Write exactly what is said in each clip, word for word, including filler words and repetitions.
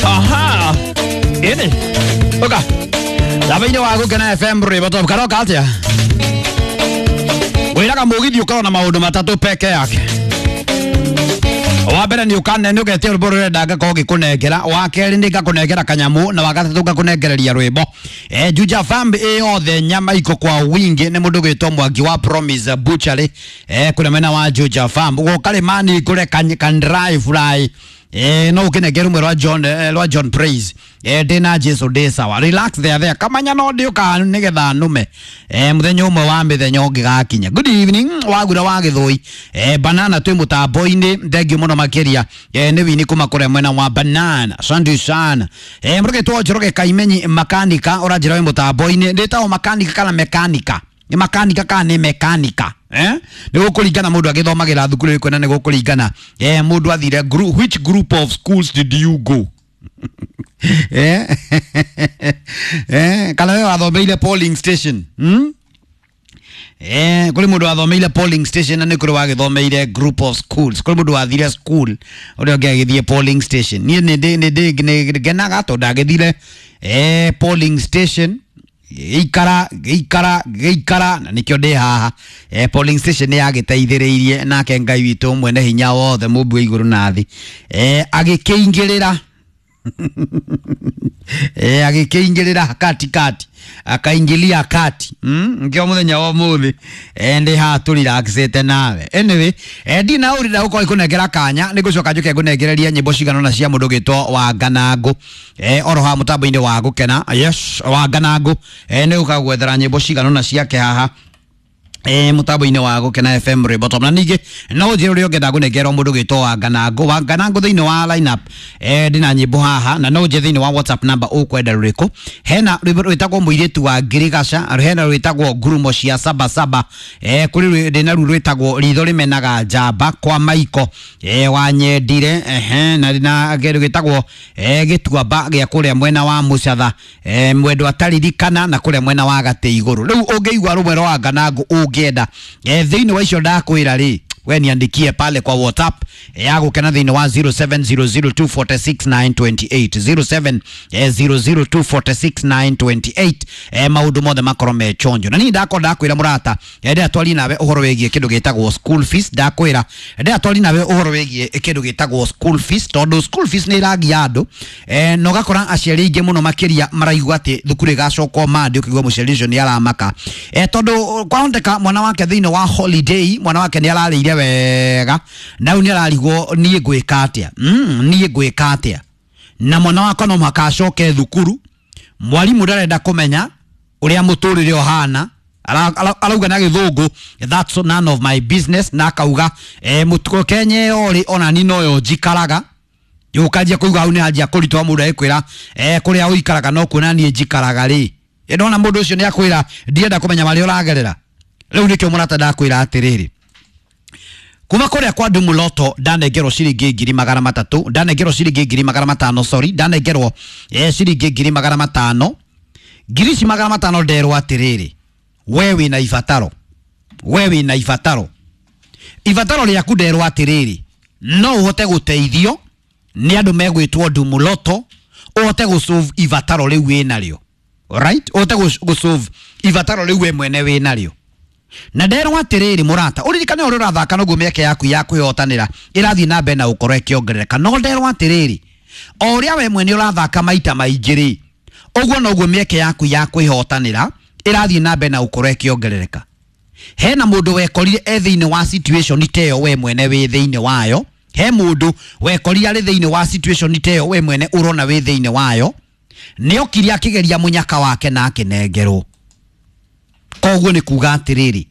Aha. Ĩnĩ ũka thaba-inĩ wa Gũkena F M rwĩmbo top karoka atĩa? Wĩraga mũgithi ũkorwo na maũndũ matatũ peke yake. Wa mbere nĩ ũkane nĩ ũgetia rwĩmbo rũrenda ngakorwo ngĩkũnengera, wa kerĩ nĩ ngakũnengera kanyamũ, na wa gatatũ ngakũnengereria rwĩmbo. Eh, Juja Fam ĩ yothe nyama iko kwa wingi nĩ mũndũ gwĩtwo Mwangi wa Promise Butchery eh kũrĩa mwena wa Juja Fam. Gũka rĩmani kũrĩa kan, kan dry fry. Eh, no ukinengera rumwe rwa John eh, rwa John Praise. Eh, ndĩ Jesu ndĩ sawa. Relax there there. Kamanya no ndiũka nĩgetha nume. Eh, mũthenya ũmwe wa mĩthenya ũngĩgakinya. Good evening wagura wa Gĩthũi. Eh, banana twĩ mũtambo-inĩ thengiũ mũno makĩria. Eh, nĩ wini kuma kũrĩa mwena wa banana. Asante sana. Eh, mũrũgĩtwo Njoroge Kaimenyi makanika ũranjĩra wĩ mũtambo-inĩ. Ndĩtagwo makanika kana mekanika? Nĩ makanika kana nĩ mekanika? Eh? Nĩ gũkũringana mũndũ agĩthomagĩra thukuru ĩrĩkũ na nĩ gũkũringana eh mũndũ athire group, which group of schools did you go? Eh? Eh, kana we wathomeire polling station? Hmm? Eh, kũrĩ mũndũ wathomeire polling station na nĩ kũrĩ wagĩthomeire group of schools. Kũrĩ mũndũ wathire school ũrĩa ũngĩ agĩthiĩ polling station. Niĩ nĩ ndĩ nĩ ndĩ nĩ ngenaga tondũ ndagĩthire eh polling station gĩikara gĩikara gĩikara na nĩkĩo ndĩ haha. Eh, polling station nĩ yagĩteithĩrĩirie nake Ngai witũ mwene hinya wothe mũmbi wa igũrũ na thĩ eh agĩkĩingĩrĩra eh agĩkĩingĩrĩra kati kati akaingilia kati mm ngio muthenya wa muthi eh ndi ha tu relaxete nawe. Anyway, eh ndina urira uko ikunengera kanya ni gucoka njuke ngunengereria nyimbo cigana na cia mundu gitwo wa Nganangũ eh oro ha mutambo-inĩ wa Gũkena. Yes, wa Nganangũ eh ni ukagwethera nyimbo cigana na ciake haha eh mutambo-inĩ wa Gũkena F M rwĩmbo top. Na ningĩ no njĩre ũrĩa ũngĩenda kũnengerwo mũndũ gwĩtwo wa Nganangũ. Wa Nganangũ thĩinĩ wa lineup eh ndĩna nyĩmbo haha na no njĩre thĩinĩ wa WhatsApp number ũkwenda rũrĩkũ. Hena rwĩmbo rwĩtagwo mũirĩtu wa Ngirigaca, hena rwĩtagwo ngurumo cia saba saba, eh kũrĩ ndĩna ru rwĩtagwo ritho rĩmenaga njamba kwa Maiko eh wa Nyendire, ehe na na kĩndũ gĩtagwo eh gĩtuamba gĩa kũrĩa mwena wa Mũcatha eh mwendo ataririkana na kũrĩa mwena wa Gatĩ Igũrũ. Rĩu ũngĩigua rũmwe rwa Nganangũ ũngĩenda eh thĩinĩ wa icio ndakwĩra rĩ, we niandikie pale kwa WhatsApp ya Gũkena thĩinĩ wa zero seven zero zero two four six nine two eight zero seven zero zero two four six nine two eight eh maũndũ mothe makorwo me chonjo. Na niĩ ndakorwo ndakwĩra mũrata ndĩratwari nawe ũhoro wĩgiĩ kĩndũ gĩtagwo school fees. Ndakwĩra ndĩratwari nawe ũhoro wĩgiĩ kĩndũ gĩtagwo school fees tondũ school fees nĩ ĩragia andũ eh na ũgakora aciari aingĩ mũno makĩria maraigua atĩ thukuru ĩgacokwo Monday, ũkĩigua mũciari ũcio nĩ aramaka eh tondũ kwahoteka mwana wake thĩinĩ wa holiday mwana wake nĩ ararĩire wega na rĩu nĩ ararigwo niĩ ngwĩka atĩa, mm, niĩ ngwĩka atĩa na mwana wakwa no mũhaka acoke thukuru. Mwarimũ ndarenda kũmenya ũrĩa mũtũrĩre ũhana, arauga na gĩthũngũ that's none of my business, na akauga eh mũtuko Kenya ĩyo rĩ ona ni noyo njikaraga. Yũkanjia kũigua hau nĩ anjia kũritũha mũndũ agĩkwĩra eh kũrĩa ũikaraga no kuona niĩ njikaraga rĩ. Ĩndona mũndũ ũcio nĩ akwĩra ndienda kũmenya marĩa ũragerera. Rĩu nĩkĩo mũrata ndakwĩra atĩrĩrĩ, kuma kũrĩa kwa Ndumuloto ndanengerwo ciringi ngiri magana matatũ, ndanengerwo ciringi ngiri magana matano, sorry, ndanengerwo eh ciringi ngiri magana matano. Ngiri ici magana matano nderwo atĩrĩrĩ, we wĩna ibataro, we wĩna ibataro, ibataro rĩaku nderwo atĩrĩrĩ, no ũhote gũteithio nĩ andũ megwĩtwo Ndumuloto ũhote gũsolve ibataro rĩu wĩnarĩo. Alright, ũhote gũsolve ibataro rĩu we mwene wĩnarĩo. Na nderwo atĩrĩrĩ mũrata, ũririkane ũrĩa ũrathaka noguo mĩeke yaku ya kwĩhotanĩra ĩrathiĩ na mbere na gũkorwo ĩkĩongerereka. No nderwo atĩrĩrĩ, o ũrĩa we mwene ũrathaka maita maingĩ rĩ, ũguo noguo mĩeke yaku ya kwĩhotanĩra ĩrathiĩ na mbere na gũkorwo ĩkĩongerereka. Hena mũndũ wekorire e thĩinĩ wa situation ta ĩyo we mwene wĩ thĩinĩ wayo, he mũndũ wekorire arĩ thĩinĩ wa situation ta ĩyo we mwene ũrona wĩ thĩinĩ wayo, nĩokire akĩgeria mũnyaka wake na akĩnengerwo. Koguo nĩ kuga atĩrĩrĩ,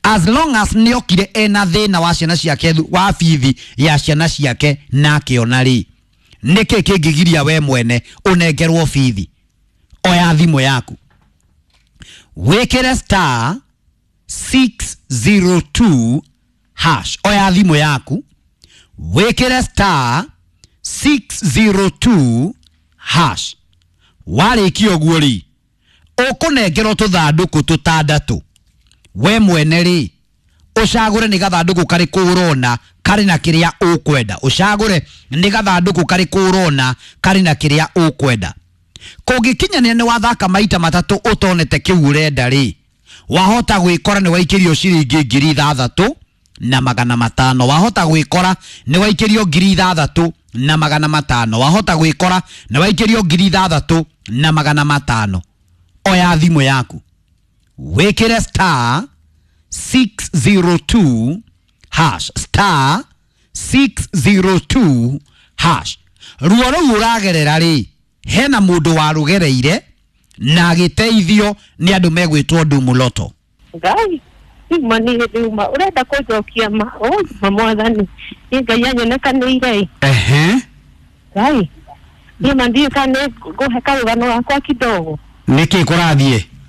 as long as nĩokire ena thĩna wa ciana ciake wa bithi ya ciana ciake na akĩona rĩ, nĩkĩ kĩngĩgiria we mwene ũnengerwo bithi? Oya thimũ yaku wĩkĩre star six zero two hash. Oya thimũ yaku wĩkĩre star six zero two hash. Warĩkia ũguo rĩ, ũkũnengerwo tũthandũkũ tũtandatũ. We mwene rĩ, Ũcagũre nĩ gathandũkũ karĩkũ ũrona karĩ na kĩrĩa ũkwenda. Ũcagũre nĩ gathandũkũ karĩkũ ũrona karĩ na kĩrĩa ũkwenda. Kũngĩkinyanĩra nĩ wathaka maita matatũ ũtonete kĩu ũrenda rĩ, wahota gwĩkora nĩ waikĩrio ciringi ngiri ithathatũ na magana matano. Wahota gwĩkora nĩ waikĩrio ngiri ithathatũ na magana matano. Wahota gwĩkora nĩ waikĩrio ngiri ithathatũ na magana matano. Oya thimũ yaku wĩkĩre star six zero two hash, star six zero two hash. Ruo rũu ũragerera rĩ, hena mũndũ warũgereire na agĩteithio nĩ andũ megwĩtwo Ndumuloto. Ngai ma nĩ rĩuma ũrenda kũnjokia ma ma mwathani nĩ Ngai anyonekanĩire. Ehe. Ngai niĩ ma ndiũĩ kana nĩ ngũhe karũgano gakwa kidogo. Nĩkĩ kũrathiĩ?